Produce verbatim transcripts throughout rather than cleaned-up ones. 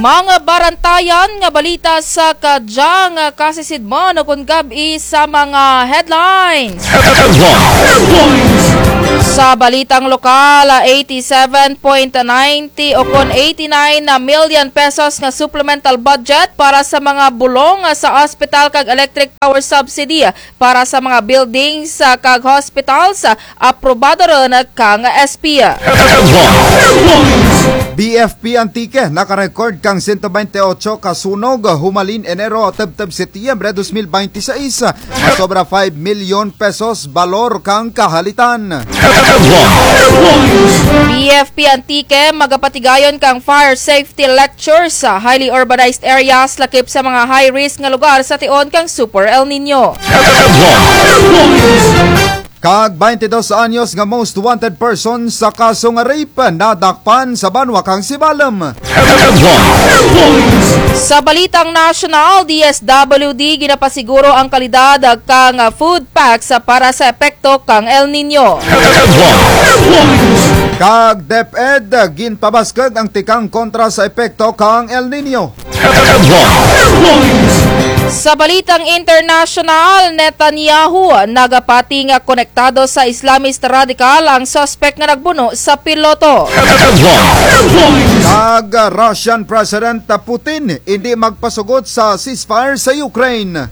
Mga barantayan nga balita sa kadyang kasisidmon ukon gab-i sa mga headlines. Headlines. Sa balitang lokal, eighty-seven point ninety ukon eighty-nine million pesos nga supplemental budget para sa mga bulong sa ospital kag electric power subsidy para sa mga buildings, ah, kag hospitals, ah, aprobado run kang S P. B F P Antique, naka-record kang siyento baynte otso ka sunog, humalin Enero tubtub Setyembre dos mil baynte sais, nga sobra five milyon pesos balor kang kahalitan. B F P Antique, magapatigayon kang fire safety lectures sa highly urbanized areas, lakip sa mga high risk nga lugar sa tion kang Super El Nino. Kag baynte dos anyos nga most wanted person sa kaso nga rape, nadakpan sa banwa kang Sibalom. Sa balitang nasyonal, D S W D, ginapasiguro ang kalidad kang food packs para sa epekto kang El Nino. Kag DepEd, ginpabaskug ang tikang kontra sa epekto kang El Nino. Sa balitang internasyonal, Netanyahu, nagapati nga konektado sa Islamist radical ang suspek nga nagbuno sa piloto. Kag Russian President Putin, indi magpasugot sa ceasefire sa Ukraine.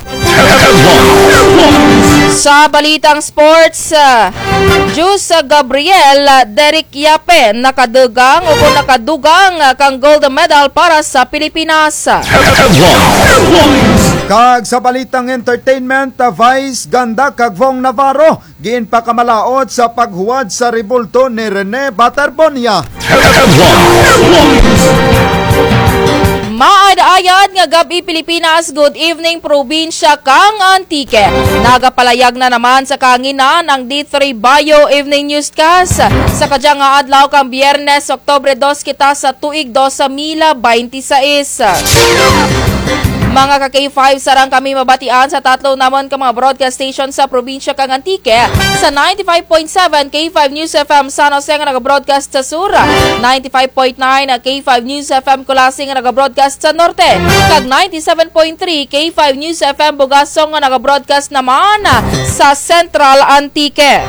Sa balitang sports, ah, Jus Gabriel, ah, Derek Yape, nakadugang ukon nakadugang, ah, kang gold medal para sa Pilipinas. Kag sa balitang entertainment, ah, Vice ganda kag Vong Navarro, ginpakamalaot sa paghuwad sa rebulto ni Rene Baterbonia. Maayad-ayad nga gab-i, Pilipinas. Good evening, probinsya kang Antique. Nagapalayag na naman sa kahanginan ang D three Bio Evening Newscast. Sa kadyang nga adlaw kang Biyernes, Oktubre dos kita sa tuig dos mil baynte sais. Mga ka K five, sarang kami mabatian sa tatlo namun ka mga broadcast station sa probinsya kang Antique, sa ninety-five point seven K five News F M San Jose nga naga-broadcast sa sur, ninety-five point nine K five News F M Culasi nga naga-broadcast sa norte, kag ninety-seven point three K five News F M Bugasong nga naga-broadcast naman sa Central Antique.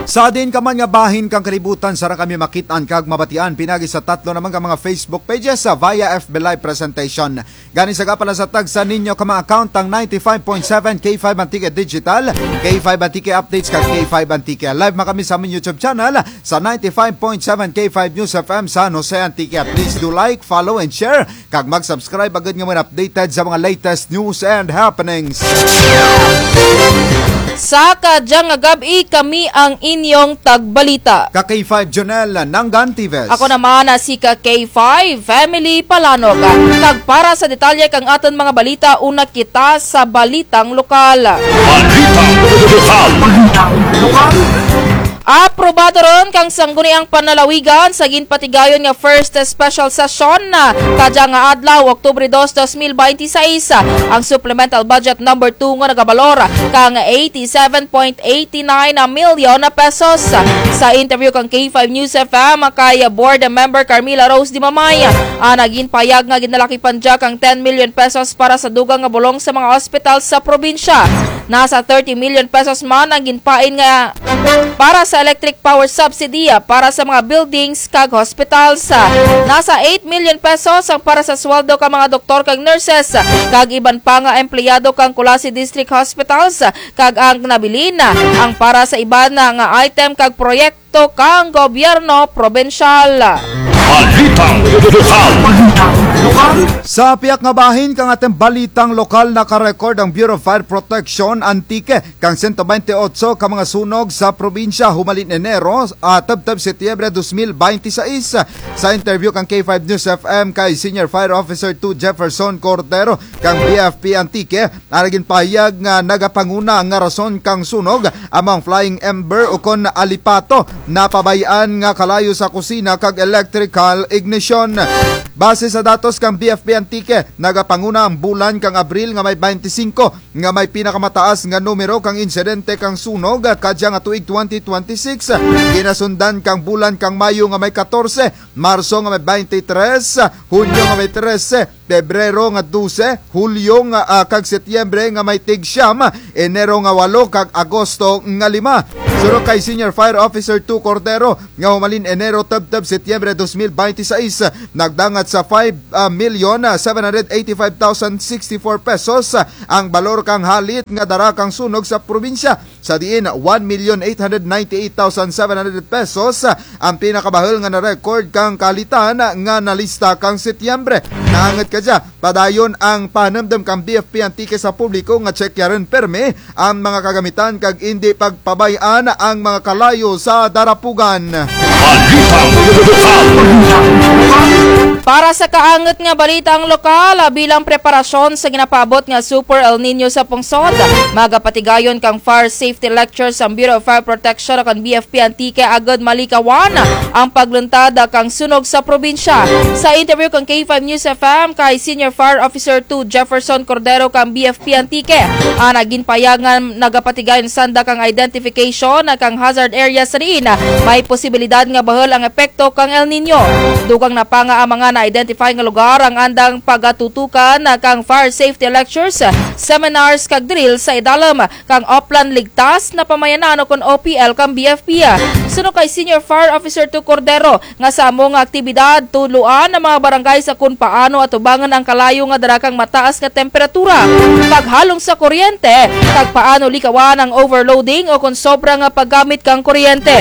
Sa diin ka man nga bahin kang kalibutan, sarang kami makit-an kag mabatian pinaagi sa tatlo namun ka mga Facebook pages, sa via F B Live presentation. Gani sa gapala sa tagsa ninyo ka mga account ang ninety-five point seven K five Antique Digital, K five Antique Updates, kag K five Antique Live. Makami sa amon YouTube channel sa ninety-five point seven K five News F M San Jose Antique. Please do like, follow, and share, kag mag-subscribe agud nga mo updated sa mga latest news and happenings. Sa kadyang nga gab-i, kami ang inyong tagbalita, ka K five Jonel Nangan Tives. Ako naman, ah, si ka K five Family Palanog. Kag para sa detalye kang atun mga balita, una kita sa balitang lokal. Balitang lokal. Aprobado run kang Sangguniang Panlalawigan sa ginpatigayon nga first special session, ah, kadyang nga adlaw, Oktubre dos, dos mil baynte sais, ah, ang supplemental budget number two nga nagabalor kang eighty-seven point eighty-nine million pesos. Sa interview kang K five News F M kay Board Member Carmela Rose Dimamay, ah, ginpahayag nga ginalakipan dya kang ten million pesos para sa dugang nga bulong sa mga ospital sa probinsya. Nasa thirty million pesos man ang ginpain nga para sa electric power subsidy, ah, para sa mga buildings kag hospitals. Nasa eight million pesos ang para sa sweldo kang mga doktor kag nurses, kag iban pa nga empleyado kang Culasi District Hospitals, kag ang nabilin ang para sa iban nga item kag proyekto kang gobyerno probinsyal. Balitang lokal. Sa piyak nga bahin kang atun balitang lokal, naka-record ang Bureau of Fire Protection Antique kang siyento baynte otso ka mga sunog sa probinsya humalin Enero, ah, tubtub Setyembre dos mil baynte sais. Sa interview kang K five News F M kay Senior Fire Officer two Jefferson Cordero kang B F P Antique, ang ginpahayag nga nagapanguna nga rason kang sunog amo ang flying ember ukon alipato na pabay-an nga kalayo sa kusina kag electric Cal Ignition. Base sa datos kang B F P Antique, nagapanguna ang bulan kang Abril nga may baynte singko nga may pinakamataas nga numero kang insidente kang sunog kadya nga tuig twenty twenty-six. Ginasundan kang bulan kang Mayo nga may katorse, Marso nga may baynte tres, Hunyo nga may trese, Pebrero nga dose, Hulyo nga, ah, kag Setyembre nga may tig siyam, Enero nga walo, kag Agosto nga lima. Suno kay Senior Fire Officer two Cordero, nga humalin Enero tubtub Setyembre dos mil baynte sais, nagdangat sa five, ah, million, ah, seven hundred eighty-five thousand sixty-four pesos, ah, ang balor kang halit nga dara kang sunog sa probinsya. Sa diin, one million eight hundred ninety-eight thousand seven hundred pesos, ah, ang pinakabahul nga na-record kang kahalitan nga nalista kang Setyembre. Naangut kadya, padayon ang panumdum kang B F P Antique sa publiko nga tsekyaran pirme ang mga kagamitan kag indi pagpabay-an ang mga kalayo sa darapugan. Balitang lokal. Para sa kaangut nga balitang lokal, ah, bilang preparasyon sa ginapaabot nga Super El Niño sa pungsod, magapatigayon kang fire safety lectures ang Bureau of Fire Protection kag B F P Antique agud malikawan ang pagluntad kang sunog sa probinsya. Sa interview kang K five News F M kay Senior Fire Officer two Jefferson Cordero kang B F P Antique, ah, ginpahayag nga nagapatigayon sanda kang identification kang hazard area sa diin may posibilidad nga bahul ang epekto kang El Niño. Dugang na pa nga ang mga na-identify nga lugar ang andang pagatutukan kang fire safety lectures, seminars kag drill sa idalum kang Oplan Ligtas na Pamayanan ukon O P L kang B F P. Suno kay Senior Fire Officer two Cordero, nga sa amo nga aktibidad, tudloan ang mga barangay sa kon paano atubangan ang kalayo nga dara kang mataas nga temperatura, paghalong sa kuryente, kag paano likawan ang overloading ukon sobra nga paggamit kang kuryente.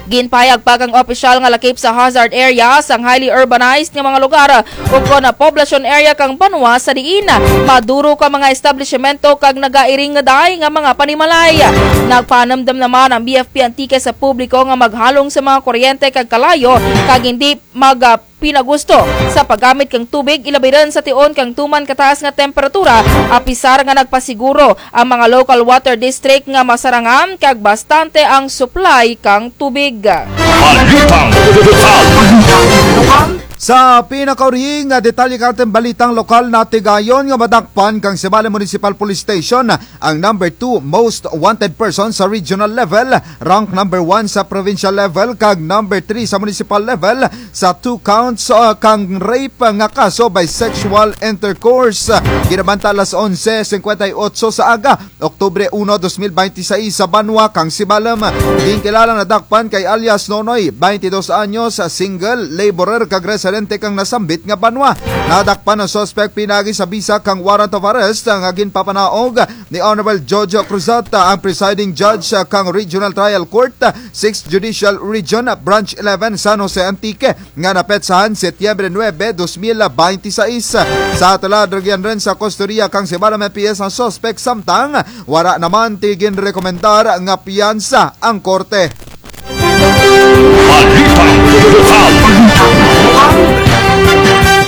Ginpahayag pa kang opisyal nga lakip sa hazard areas ang highly urbanized nga mga lugar ukon na poblasyon area kang banwa sa diin maduro ka mga establisyemento kag nagairing nga daay nga mga panimalay. Nagpanumdum na man ang B F P Antique sa publiko nga maghalong sa mga kuryente kag kalayo kag indi mag, ah, pinagusto sa paggamit kang tubig, ilabi run sa tion kang tuman kataas nga temperatura, apisar nga nagpasiguro ang mga local water district nga masarangan kag bastante ang supply kang tubig. Balitang lokal. Sa pinakauri nga detalye kang atun balitang lokal, natigayon nga madakpan kang Sibalom Municipal Police Station ang number two most wanted person sa regional level, rank number one sa provincial level, kag number three sa municipal level sa two counts, ah, kang rape nga kaso by sexual intercourse. Ginabanta alas onse singkwenta y otso sa aga, Oktubre uno, dos mil baynte sais, sa banwa kang Sibalom. Ginkilala nga nadakpan kay alias Nonoy, baynte dos anyos, single, laborer, kag residente kang nasambit nga banwa. Nadakpan ang suspek pinaagi sa bisa kang warrant of arrest nga ginpapanaog ni Honorable Jojo Cruzat, ang presiding judge kang Regional Trial Court, Sixth Judicial Region, Branch eleven, San Jose, Antique, nga napetsahan Setyembre nuebe, dos mil baynte sais. Sa tulad rugyan run sa kustodiya kang Sibalom M P S ang suspek, samtang wara naman ti ginrekomendar nga piyansa ang korte. Balitang lokal.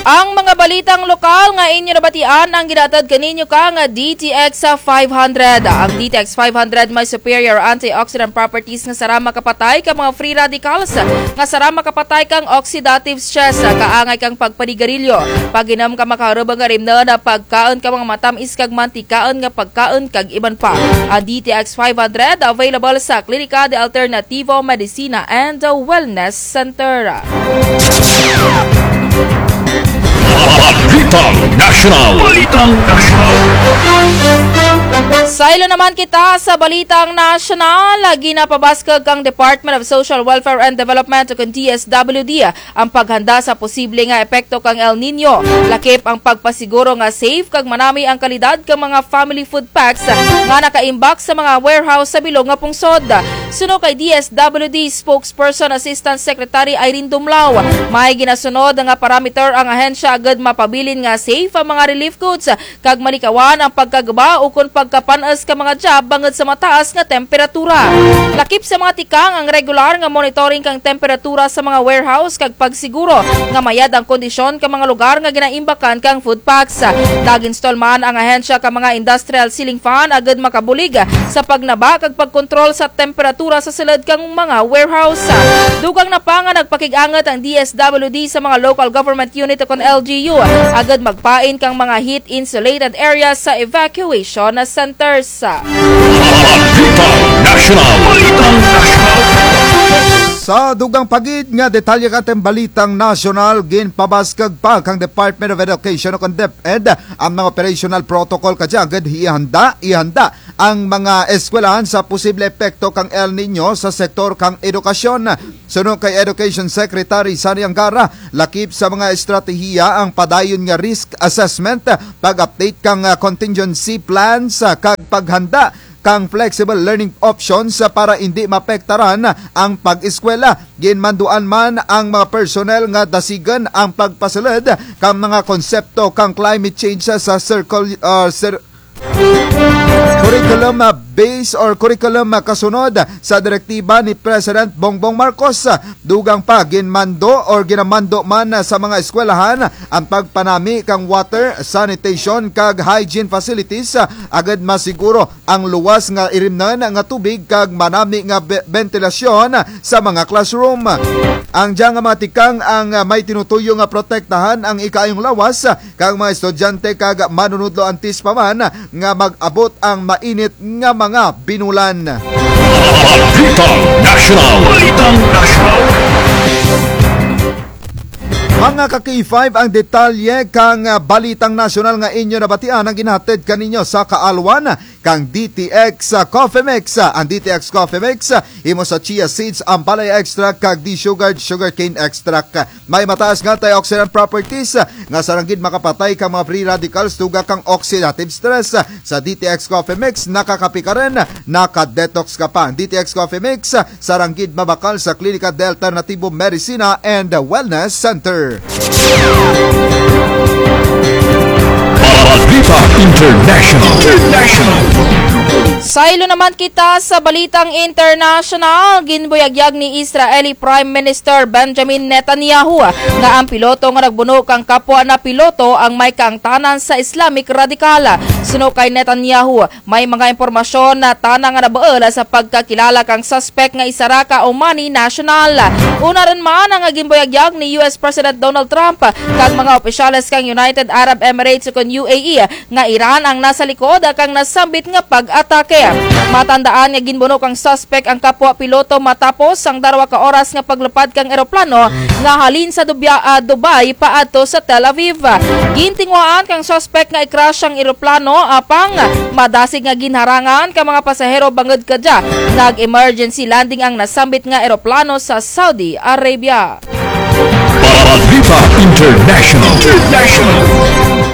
Ang mga balitang lokal nga inyo nabatian ang ginahatod kaninyo kang D T X five hundred. Ang D T X five hundred may superior antioxidant properties nga sarang makapatay kang mga free radicals, nga sarang makapatay kang oxidative stress, kaangay kang pagpanigarilyo, pag-inom kang makaharubang nga rimnon, pagkaon kang mga matam-is kag mantikaon nga pagkaon, kag iban pa. Ang D T X five hundred available sa Klinika de Alternativo Medicina and Wellness Center. Balitang Nasyonal. Balitang Nasyonal. Saylo naman kita sa Balitang Nasyonal. Ginapabaskug kang Department of Social Welfare and Development ukon D S W D ang paghanda sa posible nga epekto kang El Niño. Lakip ang pagpasiguro nga safe kag manami ang kalidad kang mga family food packs nga nakaimbak sa mga warehouse sa bilog nga pungsod. Suno kay D S W D Spokesperson Assistant Secretary Irene Dumlao, may ginasunod nga parameter ang ahensya agud mapabilin nga safe ang mga relief goods kag malikawan ang pagkaguba ukon pag kapan-es ka mga job bangud sa mataas nga temperatura. Lakip sa mga tikang ang regular nga monitoring kang temperatura sa mga warehouse kag pagsiguro nga mayad ang kondisyon ka mga lugar nga ginaimbakan kang food packs. Nag-install man ang ahensya ka mga industrial ceiling fan agud makabulig sa pagnaba kag pagkontrol sa temperatura sa sulud kang mga warehouse. Dugang na pa nga nagpakig-angut ang D S W D sa mga local government unit ukon L G U agud magpain kang mga heat insulated areas sa evacuation centers. Balitang Nasyonal. Balitang Nasyonal. Sa dugang pa gid nga detalye kang atun balitang nasyonal, ginpabaskug pa kang Department of Education ukon DepEd ang mga operational protocol kadya agud ihanda, ihanda ang mga eskwelahan sa posible epekto kang El Niño sa sektor kang edukasyon. Suno kay Education Secretary Sonny Angara, lakip sa mga estratehiya ang padayon nga risk assessment, pag-update kang, ah, contingency plans, ah, kag paghanda kang flexible learning options, ah, para indi maapektaran ang pag-eskwela. Ginmanduan man ang mga personnel nga dasigun ang pagpasulud kang mga konsepto kang climate change sa circle, ah, cir-, curriculum, ah, base or curriculum, ah, kasunod sa direktiba ni President Bongbong Marcos. Dugang pa, ginmando or ginamando man, ah, sa mga eskwelahan ang pagpanami kang water, sanitation kag hygiene facilities, ah, agud masiguro ang luwas nga irimnun nga tubig kag manami nga be-, bentilasyon sa mga classroom. Ang dya nga mga tikang ang, ah, may tinutuyo nga protektahan ang ikaayong lawas kang mga estudyante kag manunudlo antes pa man nga mag-abot ang mainit nga mga binulan. Balitang Nasyonal. Balitang Nasyonal. Mga ka K five, ang detalye kang, ah, balitang nasyonal nga inyo nabatian ang ginahatid kaninyo sa kaalwan kang D T X, ah, Coffee Mix. Ang D T X Coffee Mix, ah, himo sa chia seeds, ampalaya extract kag desugared sugarcane extract. May mataas nga antioxidant properties, ah, nga sarang gid makapatay kang mga free radicals, dugang kang oxidative stress. Sa D T X Coffee Mix, nakakape ka run, naka-detox ka pa. D T X Coffee Mix, ah, sarang gid mabakal sa Klinika de Alternativo Medicina and Wellness Center. Balita International. International. Saylo naman kita sa balitang international. Ginbuyagyag ni Israeli Prime Minister Benjamin Netanyahu nga ang piloto nga nagbuno kang kapwa na piloto ang may kaangtanan sa Islamic radical. Suno kay Netanyahu, may mga impormasyon na tana nga nabuul sa pagkakilala kang suspek nga isara ka Omani national. Una run man ang ginbuyagyag ni U S President Donald Trump kag mga opisyales kang United Arab Emirates ukon U A E nga Iran ang nasa likod kang nasambit nga pag-atake. Matandaan nga ginbuno kang suspek ang kapwa piloto matapos ang darwa ka oras nga paglupad kang eroplano nga halin sa Dubya-, ah, Dubai paadto sa Tel Aviv. Gintinguhaan kang suspek nga i-crash ang eroplano, apang madasig nga ginharangan ka mga pasahero bangud kadya. Nag-emergency landing ang nasambit nga eroplano sa Saudi Arabia. Balita International. International.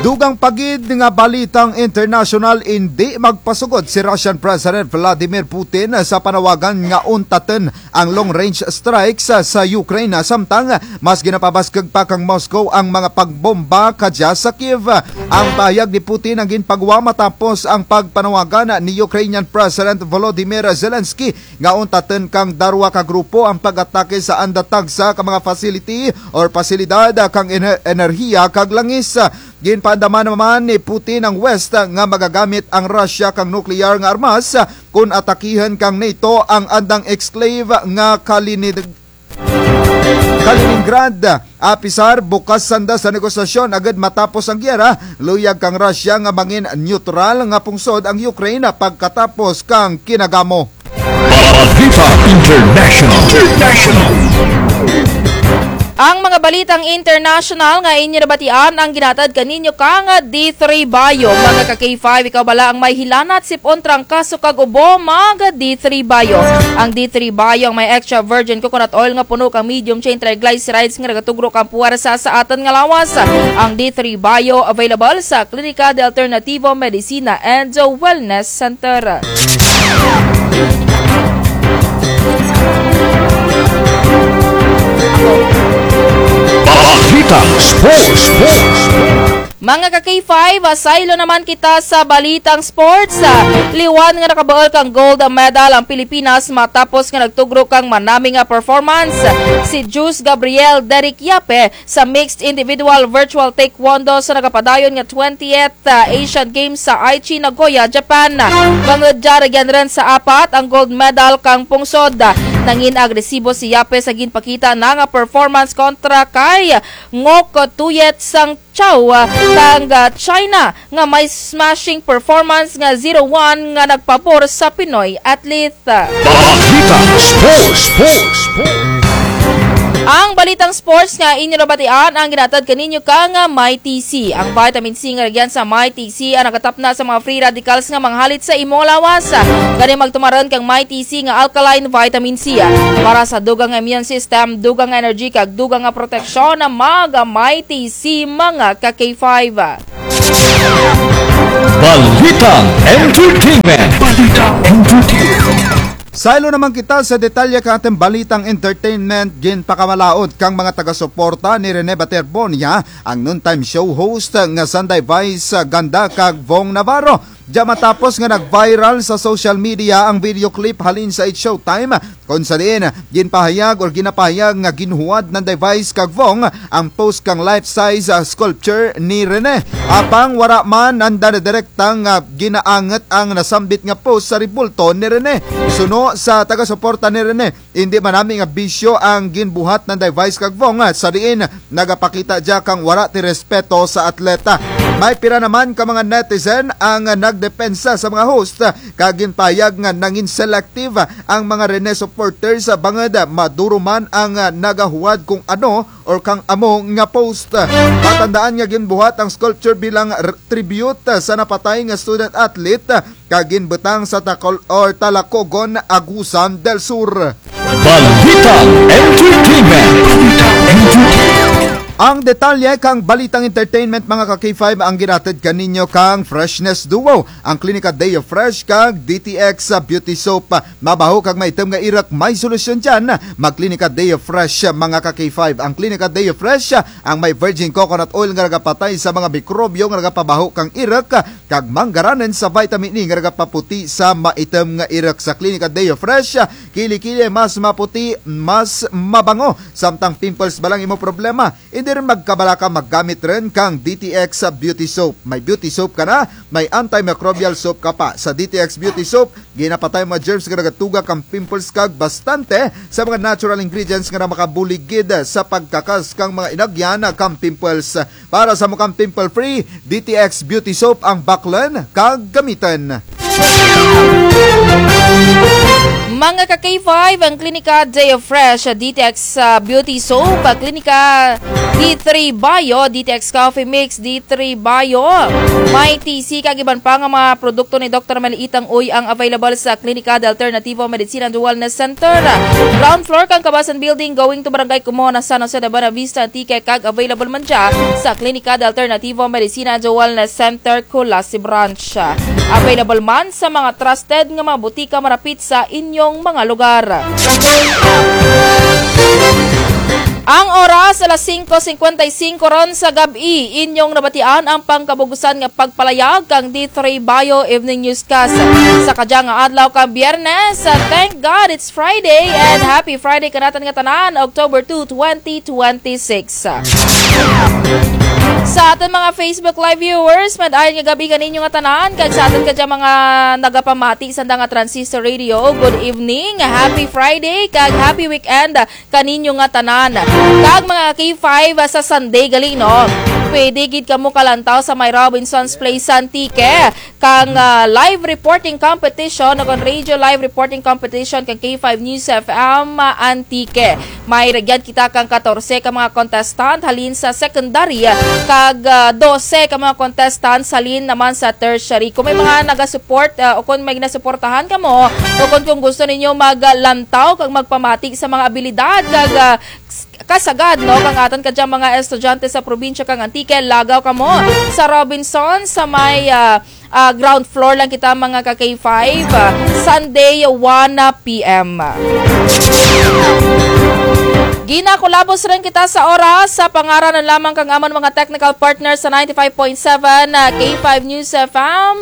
Dugang pa gid nga balitang international, indi magpasugod si Russian President Vladimir Putin sa panawagan nga untatun ang long-range strikes sa, sa Ukraine, samtang mas ginapabaskug pa kang Moscow ang mga pagbomba kadya sa Kyiv. Ang pahayag ni Putin ang ginpagwa matapos ang pagpanawagan ni Ukrainian President Volodymyr Zelensky nga untatun kang darwa ka grupo ang pag-atake sa anda tagsa ka mga facility or pasilidad kang ener-, enerhiya kag langis. Ginpaandaman naman ni Putin ang West nga magagamit ang Russia kang nukleyar nga armas kon atakihun kang NATO ang andang exclave nga Kalini-, Kaliningrad. Apisar bukas sanda sa negosasyon agud matapos ang giyera, luyag kang Russia nga mangin neutral nga pungsod ang Ukraine pagkatapos kang kinagamo. Balita International. International. Ang mga balitang international nga inyo nabatian ang ginahatid kaninyo kang D three Bio. Mga ka K five, ikaw bala ang may hilanat, sip-on, trangkaso kag ubo, mag D three Bio. Ang D three Bio ang may extra virgin coconut oil nga puno kang medium chain triglycerides nga nagatugro kang puwersa sa atun nga lawas. Ang D three Bio available sa Klinika de Alternativo Medicina and Wellness Center. Balitang Sports, Sports, Sports. Mga ka K five, ah, saylo naman kita sa balitang sports. Ah, liwan nga nakabuul kang gold medal ang Pilipinas matapos nga nagtugro kang manami nga performance si Jus Gabriel Derek Yape sa mixed individual virtual taekwondo sa nagapadayon nga twentieth, ah, Asian Games sa Aichi, Nagoya, Japan. Bangud dya, rugyan run sa apat ang gold medal kang pungsod. Nangin agresibo si Yape sa ginpakita na nga performance kontra kay Ngok Tuyet Sang Chow, ah, kang, ah, China nga may smashing performance nga zero one nga nagpabor sa Pinoy athlete. Balitang Sports, Sports, Sports. Ang balitang sports nga inyo nabatian ang ginahatod kaninyo kang, ah, Mighty C. Ang vitamin C nga rugyan sa Mighty C ang nagatapna sa mga free radicals nga manghalit sa imo nga lawas. Gani magtumar run kang Mighty C nga alkaline vitamin C. Para sa dugang nga immune system, dugang nga energy, kag dugang nga proteksyon, mag Mighty C, mga ka K five. Balitang Entertainment. Balitang Entertainment. Saylo naman kita sa detalye kang atun balitang entertainment. Ginpakamalaod kang mga taga-suporta ni Rene Baterbonia ang noontime show host nga Sunday Vice, ah, Ganda kag Vong Navarro. Dya matapos nga nag-viral sa social media ang video clip halin sa It's Showtime, kon sa diin ginpahayag or ginapahayag nga ginhuwad nanday Vice kag Vong ang post kang life-size, ah, sculpture ni Rene. Apang wara man nanda direkta nga ginaangut ang nasambit nga post sa rebulto ni Rene. Suno sa taga-suporta ni Rene, indi man nami nga bisyo ang ginbuhat nanday Vice kag Vong, ah, sa diin nagapakita dya kang wara ti respeto sa atleta. May pira naman ka mga netizen ang nagdepensa sa mga host, ah, kag ginpahayag nga nangin selective ang mga Rene supporters, ah, bangud maduro man ang, ah, nagahuwad kung ano or kang amo nga post. Matandaan nga ginbuhat ang sculpture bilang r-, tribute, ah, sa napatay nga student athlete, ah, kag ginbutang sa Tacol-, or Talacogon, Agusan del Sur. Balitang Entertainment. Balitang Entertainment. Ang detalye kang balitang entertainment, mga ka K five, ang ginahatod kaninyo kang Freshness Duo, ang Klinika Deo Fresh kag D T X Beauty Soap. Mabaho kag maitum nga iruk, may solusyon dyan. Mag-Klinika Deo Fresh, mga ka K five. Ang Klinika Deo Fresh, ang may virgin coconut oil nga nagapatay sa mga mikrobyo nga nagapabaho kang iruk, kag manggaranon sa vitamin E nga nagapaputi sa maitum nga iruk. Sa Klinika Deo Fresh, kili-kili mas maputi, mas mabango. Samtang pimples ba lang imo problema, indi run magkabalaka maggamit run kang D T X Beauty Soap. May beauty soap ka na, may antimicrobial soap ka pa. Sa D T X Beauty Soap, ginapatay ang mga germs nga nagatuga kang pimples kag bastante sa mga natural ingredients nga makabulig gid sa pagkakas kang mga inagyan kang pimples. Para sa amo kang pimple free, D T X Beauty Soap ang baklun kag gamitan. Mga ka K five, ang Klinika Deo Fresh, D T X, ah, Beauty Soap, ah, Klinika D three Bio, D T X Coffee Mix, D three Bio, may T C kag iban pa nga mga produkto ni Doktor Mel Itang Uy ang available sa Klinika de Alternativo Medicina and Wellness Center. Ground floor kang Kabasan Building, going to Barangay Como, na San Jose de Buenavista, Antique, kag available man dya sa Klinika de Alternativo Medicina and Wellness Center, Culasi Branch. Available man sa mga trusted nga mga butika marapit sa inyong mga lugar. Ang oras, alas singko singkwenta y singko run sa gab-i. Inyong nabatian ang pangkabug-usan nga pagpalayag kang D three Bio Evening Newscast sa kadya nga adlaw kang Biyernes. Thank God it's Friday, and happy Friday kanatun nga tanan, October two, twenty twenty-six. Sa atun mga Facebook Live viewers, maayong gab-i kaninyo nga tanan, kag sa atun kadya mga nagapamati sanda nga Transistor Radio, good evening, happy Friday, kag happy weekend kaninyo nga tanan. Kag mga K five, ah, sa Sunday gali, no? Pwede gid kamo kalantaw sa may Robinson's Place Antique kang, ah, live reporting competition, o kang radio live reporting competition kang K five News F M, ah, Antique. May rugyan kita kang katorse ka mga contestant halin sa secondary, kag, ah, dose ka mga contestant halin naman sa tertiary. Kung may mga nagasupport, ah, o kung may ginasuportahan kamo, o kung, kung gusto ninyo maglantaw kag magpamati sa mga abilidad kag, ah, s-, kasagad, no, kang atun kadyang mga estudyante sa probinsya kang Antique, lagaw kamo sa Robinson sa may, ah, ah, ground floor lang kita, mga ka K five, ah, Sunday, one P M. Ginakulabos run kita sa oras, sa pangaran na lamang kang amun mga technical partner sa ninety-five point seven, ah, K five News F M.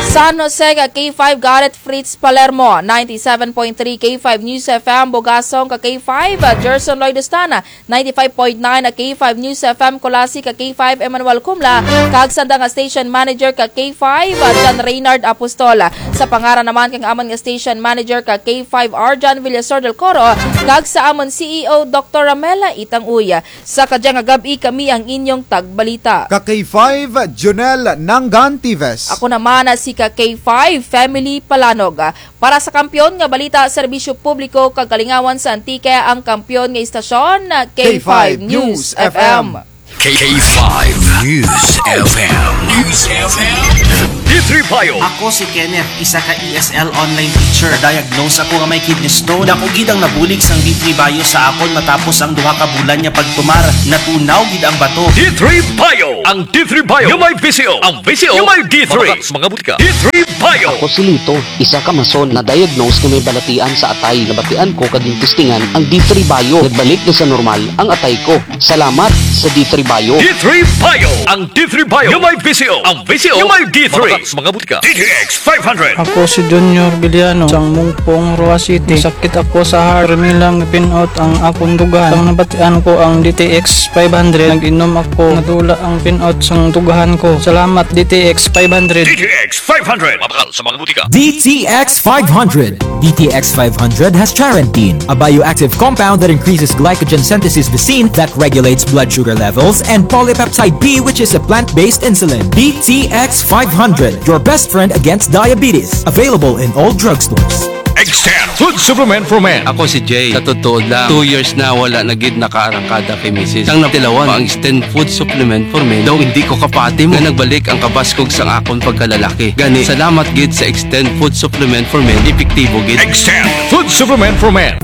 San Jose ka K five Garrett Fritz Palermo, ninety-seven point three K five News F M Bugasong ka K five, ah, Gerson Lloyd Ostana, ninety-five point nine ka K five News F M Culasi ka K five Emmanuel Cumla, kag sanda nga station manager ka K five, ah, John Reynard Apostol. Sa pangaran naman kang amun nga station manager ka K five Arjan Villasor del Coro, kag sa amun C E O Doktor Ramela Itang Uy. Sa kadya nga gab-i kami ang inyong tagbalita. Ka K five, Jonel Nangantives. Ako naman na si ka K five, Family Palanog. Para sa kampiyon nga balita, serbisyo publiko kag kalingawan sa Antique, ang kampiyon nga istasyon, K five News F M. K five News F M. News F M. D three Bio. Ako si Kenneth, isa ka E S L online teacher. Diagnose ako nga may kidney stone. Dako gid ang nabulig sang D three Bio sa akon matapos ang duha ka bulan nga pagtumar. Natunaw gid ang bato. D three Bio. Ang D three Bio nga may V C O. Ang V C O nga may D three. Mabakal sa mga butika. D three Bio. Ako si Lito, isa ka mason, na-diagnose nga may balatian sa atay. Nabatian ko kag gintestingan ang D three Bio. Nagbalik na sa normal ang atay ko. Salamat sa D three Bio. D three Bio. Ang D three Bio nga may V C O. Ang V C O nga may D three. Mabakal sa mga butika. D T X five hundred. Ako si Junior Villano, sang Mungpong, Roxas City. Sakit ako sa heart. Permi lang pin-out ang akon dughan. Ang nabatian ko ang D T X five hundred. Nag-inom ako. Nadula ang pin-out sang dughan ko. Salamat, D T X five hundred. D T X five hundred. Mabakal sa mga butika. D T X five hundred. D T X five hundred has charantine, a bioactive compound that increases glycogen synthesis vacin that regulates blood sugar levels, and polypeptide B, which is a plant-based insulin. D T X five hundred, your best friend against diabetes. Available in all drugstores. Extend food supplement for men. Ako si Jay. Sa totoo lang, two years na wala na gid nakaarangkada kay misis. Sang natilawan ko ang Extend Food Supplement for Men, daw indi ko kapati mo nga nagbalik ang kabaskog sang akon pagkalalaki. Gani, salamat gid sa Extend Food Supplement for Men, epektibo gid. Extend Food Supplement for Men.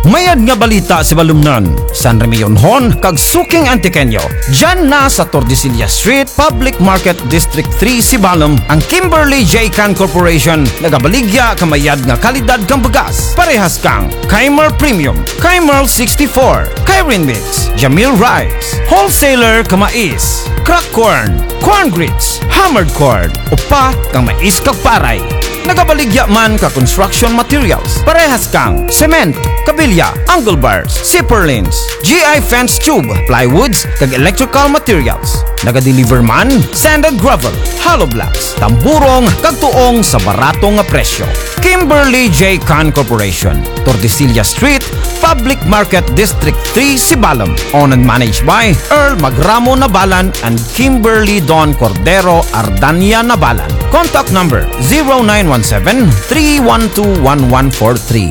Mayad nga balita, Sibalomnon, San Remillonhon, kag suking Antiqueño. Dyan na sa Tordesillas Street, Public Market, District three, Sibalom, ang Kimberly J Can Corporation, nagabaligya ka mayad nga kalidad kang bugas. Parehas kang Keimer Premium, Keimer sixty-four, Keirin Mix, Jamil Rice, wholesaler ka mais, crack corn, corn grits, hammered corn, upa kang mais kag paray. Nagabaligya man ka construction materials, parehas kang cement, kabilya, angle bars, zipper lines, G I fence tube, plywoods, kag electrical materials. Nagadeliver man, sand and gravel, hollow blocks, tamburong, kag tuong sa barato nga presyo. Kimberly J Can Corporation, Tordesillas Street, Public Market, District three, Sibalom. Owned and managed by Earl Magramo Nabalan and Kimberly Don Cordero Ardania Nabalan. Contact number zero nine one seven, three one two, one one four three.